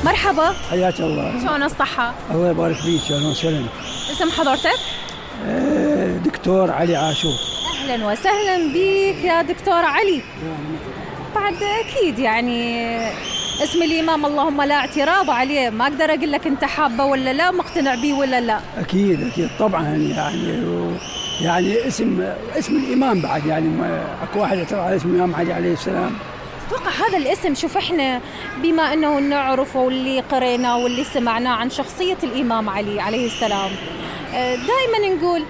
مرحبا. حياك الله. شلون الصحة؟ الله يبارك فيك. اهلا وسهلا. اسم حضرتك؟ دكتور علي عاشور. اهلا وسهلا بك يا دكتور علي. بعد اكيد يعني اسم الامام اللهم لا اعتراض عليه، ما اقدر اقول لك انت حابه ولا لا، مقتنع بيه ولا لا. اكيد طبعا يعني اسم الامام بعد، يعني اكو واحد يعترض على اسم الامام علي عليه السلام. تتوقع هذا الاسم، شوف احنا بما انه نعرفه واللي قرينا واللي سمعناه عن شخصية الامام علي عليه السلام، دائما نقول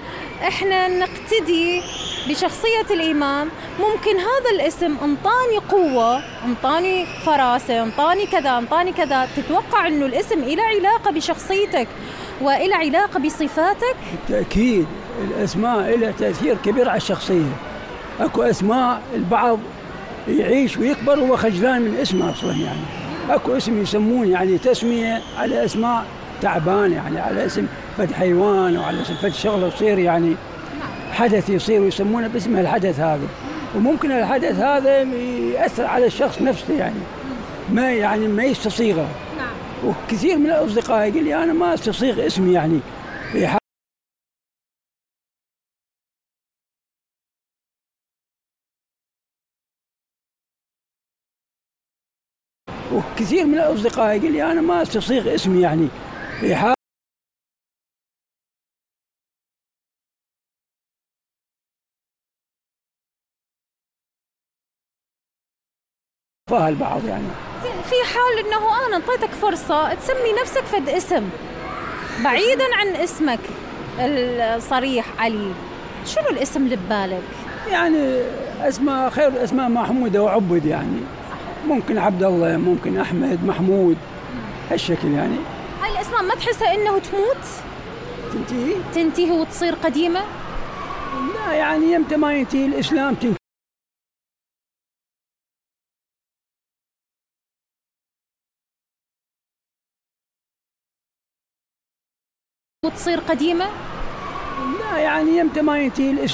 احنا نقتدي بشخصية الامام. ممكن هذا الاسم انطاني قوة، انطاني فراسة، انطاني كذا. تتوقع انه الاسم إله علاقة بشخصيتك وإله علاقة بصفاتك؟ بالتأكيد الاسماء لها تأثير كبير على الشخصية. اكو اسماء البعض يعيش ويكبر وهو خجلان من اسمه اصلا، يعني اكو اسم يسمون يعني تسمية على اسماء تعبان، يعني على اسم فد حيوان او على اسم فد شغله تصير، يعني حدث يصير ويسمونه باسم الحدث هذا، وممكن الحدث هذا يأثر على الشخص نفسه، يعني ما يستصيغه. وكثير من الاصدقاء يقول لي انا ما استصيغ اسمي، يعني وكثير من الاصدقاء يقول لي انا ما استصيغ اسمي، يعني فيها البعض. يعني في حال انه انا انطيتك فرصة تسمي نفسك فد اسم بعيدا عن اسمك الصريح علي، شنو الاسم اللي ببالك؟ يعني اسماء خير الاسماء محمودة وعبد، يعني ممكن عبد الله، ممكن احمد، محمود، هالشكل. يعني هاي الاسماء ما تحسها انه تموت؟ تنتهي وتصير قديمة؟ لا، يعني يمتى ما ينتهي الاسلام تنتهي وتصير قديمة؟ لا، يعني يمتى ما ينتهي الاسلام